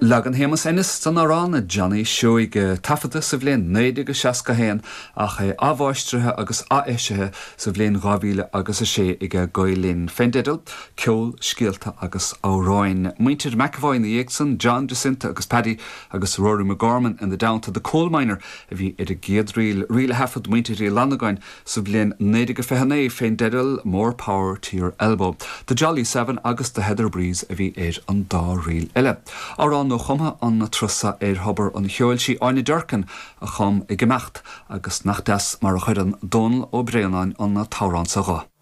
Leagan Shéamus Ennis den amhrán Johnny Seoige, taifeadta sa bhliain 1961 ach é athmháistrithe agus ath-eisithe sa bhliain 2000 agus 6 aige Gael Linn, fén dteideal Ceol, Scéalta agus Amhráin. Muintir McEvoy ina dhiaidh san, John, Jacinta agus Paddy agus Rory McGorman ina dteannta, The Coal Miner a bhí ar an gcéad ríl, ríl a thaifead muintir Uí Fhlannagáin Sa bhliain 1929, fén dteideal More Power to Your Elbow, The Jolly Seven agus The Heather Breeze a bhí ar an dá ríl eile. Amhrán nuachumtha an turas so ar Thobar an Cheoil sí Áine Durkin a chum Ag Imeacht agus nach deas mar a chuireann Dónal Ó Braonáin an t-amhrán so dho.